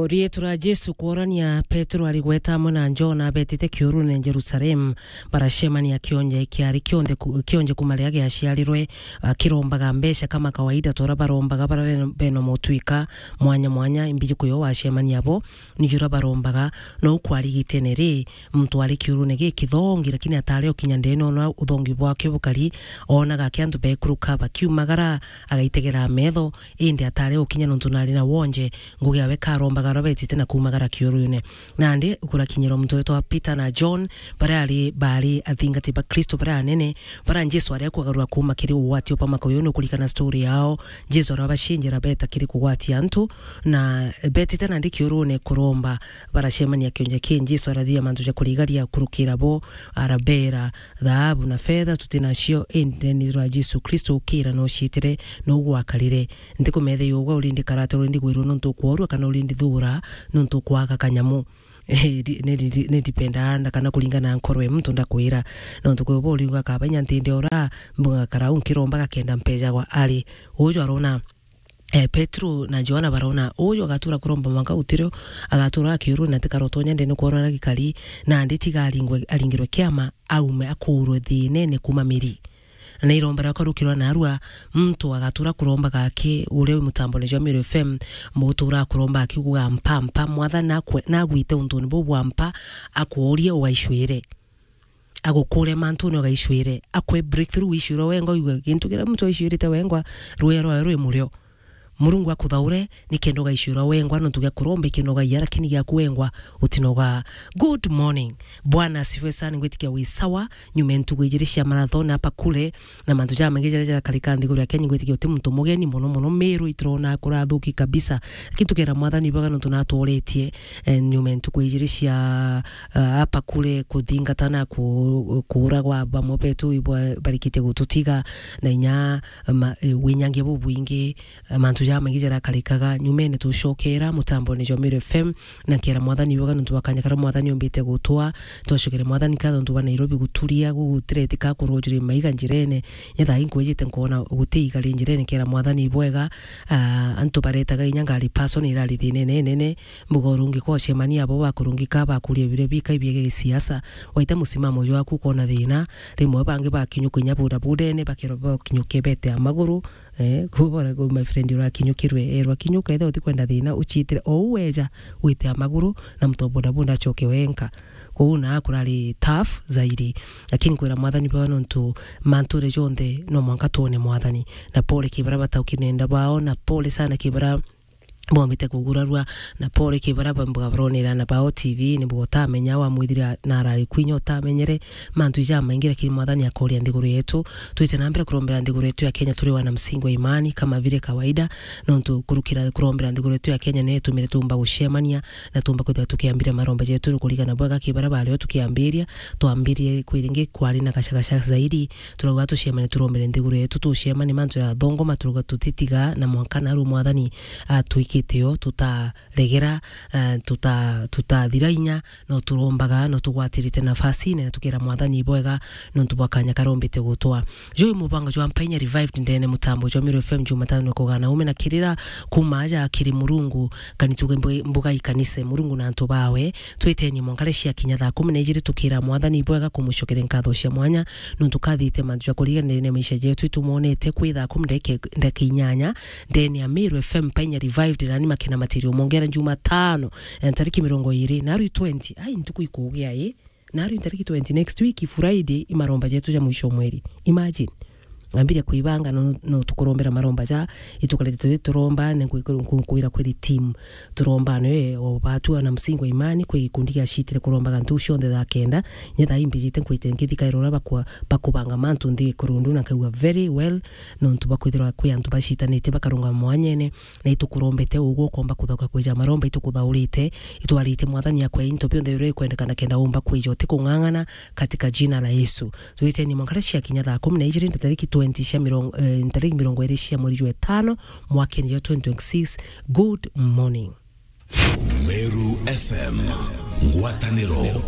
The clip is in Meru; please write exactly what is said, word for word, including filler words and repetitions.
Rietu ria Jesu kworania, Petero arigweta amwe na Jona betite kiurune Jerusalemu, baracemania kionje kiari kionthe ku-, kionje kuma riria giaciarirwe, akirombaga mbeca kama kawaida, tora barombaga bara ben-, beno motwika mwanya mwanya, imbiji kuyo wacemania bo, ni jura barombaga, no kwarigitene ri, muntu ari kiurune gikithongi, lakini atari okinya ndene ona uthongi bwake bukari, onaga ki antu bekuruka bakiumagara, agaitegera metho, indi atari okinya nontu nari na wonje, ngugi yawe karombaga uria betite na kuumagara kiurune. Nandi kurakinyirwa muntu wetwa Peter na John, baria ari, bari athingati ba Kristo baria anene, baria Jesu ari akugarura kuuma kiri ugwati bwa makuyu, nukurikana story yao. Jesu arabacinjira beta kiri kugwatia antu, na betite nandi kiurune kuromba, baracemania kionje ki Jesu arathithia mantu ja kurigaria kurukira bo, arabera, "Thaabu na fetha tuti nacio, indi ni rwa Jesu Kristo ukira na uciitire, no gwakarire. Ntikumetheia ugwe uri ndi karata, uri ndi gwirwo nontu ukworua, kana uri ndi thuura nontu ukwaga kanyamu." Ni, ni, ni, ni dependa na kana kuringana na nkoro ya muntu ndakwira. Nontu kwi bo uriuga kaba inya ntinde ora, mbuga karau nkiromba gakenda mpejagwa ari. Uju arona, eh, Petero na Johana barona, uju agatura kuromba mwanka utirio, agatura akiuruna tikarotonya ndene kwona na gikari, na ndi tiga aringwe, aringirwe kiama, aume akurwe thinene kuma miri. Na irombera akarukirwa narua, muntu agatura kuromba gake, uria wi mutambone jwa Meru F M, mutura kuromba akiuga, "Mpa, mpa, Mwathani nakwe-, nagwite untuni buu bwa mpa, akuurie ugaicwire." Agukure mantune ugaicwire, akwe breakthrough wicwirwa wengwa, uigue gintu kiria muntu aicwirite wengwa, rwea rwawe rwi murio. Murungu akuthaure, nikenda ugaicwirwa wengwa, nontu gia kuromba ikinogaia, lakini giaku wengwa utinogaa. Good morning. Bwana asifiwe sana, ngwitikia wi sawa, nyuma ya ntuku ijiri cia marathon hapa kule, na mantu jamaingi jaria jakarika nthiguru ya Kenya, ngwitikia uti muntu mugeni mono mono, Meru iturona kurathuki kabisa. Lakini tukera Mwathani ibwega nontu natworetie, eh, nyuma ya ntuku ijiri cia, ah, hapa kule kuthingata na ku-, kuuragwa bamwe betu ibwa barikitie gututiga, na inya ma-, eh, winyangia bubwingi, eh, mantu jamaingi jarakarikaga. Nyumene tucokera mutambone jwa Meru F M, na nkera Mwathani ibwega nontu bwa kanya karia Mwathani umbite gutwa. Twacokere Mwathani nkatho nontu bwa Nairobi guturia, gugutireti ka kurojire maiga njirene. Nyetha inkwijite nkona guti igari njirene, nkera Mwathani ibwega. Ah, antu baretaga inya ngari person irari thinene nene, mbuga urungika ucemania abo bakurungika bakuria biria bikai biege gisiasa. Waita musimamo jwaku ukona thina, rimwe bangi bakinyuka inya budabudene, bakirwa bakinyuke bete a maguru, eh, kubora ku my friend urakinyukirwe, erwa kinyuka, ethe utikwenda thina, uciitire o u weja, wite a maguru, na muntu wa bodaboda acoke wenka. Kwou na kurari tough zaidi. Lakini kwira Mwathani bwa nontu manture jonthe no mwanka twone Mwathani. Na pole kibara bataukire nenda bao, na pole sana kibara bombite kugurarua, na pole kibara bambuga baronera na bao T V, ni bugo utamenya wa mwithira na arari kwinya utamenyere mantu ija maingi, lakini Mwathani akoria nthiguru yetu. Twite na mbere kurombera nthiguru yetu ya Kenya turi wana msingi wa imani kama vile kawaida, nontu kurukira kurombera nthiguru yetu ya Kenya ni itumire tumba gucemania na tumba kwithira tukiambiria maromba jetu kurigana bwega kibara bario tukiambiria, twambirie kwiringi kwari na gacagaca zaidi, turauga tucemane turombere nthiguru yetu, tucemane mantu ya thongoma, turauga tutitiga na mwanka naru Mwathani atwikite yo, tutaregera, eh, tuta-, tutathira inya, no turombaga, no tugwatirite nafasi, na tukira Mwathani ibwega, nontu bwa kanya karombite gutwa. Juu mubango jwa Mpainya Revived ndene mutambo jwa Meru F M Jumatano kugana ume na kirira kuma aja kiri Murungu, kani tuge mbu-, mbuga ikanise Murungu na antu bawe, twiteni mwankare cia kinya thaa kumi na ijiri tukira Mwathani ibwega kumucokere nkatho cia mwanya, nontu kathite mantu ja kuriganirania maisha jetu, itumwonete kwi thaa kumi ndeke-, ndeke inyanya, ndene ya Meru F M Mpainya Revived, nani makena matirio mongera Jumatano, eh, ntariki mirongo iri, na rwi twenty, ai, ntuku ikugia, i? Na rwi ntariki twenty, next week, Friday, i maromba jetu ja mwisho mweri. Imagine. Ambire kwibanga, no, no tukurombera maromba ja, itukarete twi turomba, ne kwi-, kwi-, kwira kwiri team. Turomba ne, o batu ana msingi wa imani, kwi gikundi gia citire kurombaga ntu cionthe thaa kenda. Nye thaa imbijite nkwite ngithi kaira uria bakwa-, bakubanga mantu nthi kurundu, na nkaigua very well, nontu bakwithirwa kwi antu bacitanite bakarungama mwanyene, na itukurombete ugwe ukomba kuthoka kwija maromba itukuthaurite, itwarite Mwathani akwe into bionthe biria ikwendekana kenda umba kwija utikung'ang'ana katika jina la Yesu. Twiteni mwankara cia kinya thaa kumi na ijiri ntariki twenty cia mirongo, eh, ntariki mirongo iri cia mweri jwa itano mwakeni jwa twenty twenty-six. Good morning. Meru F M, ngwataniro.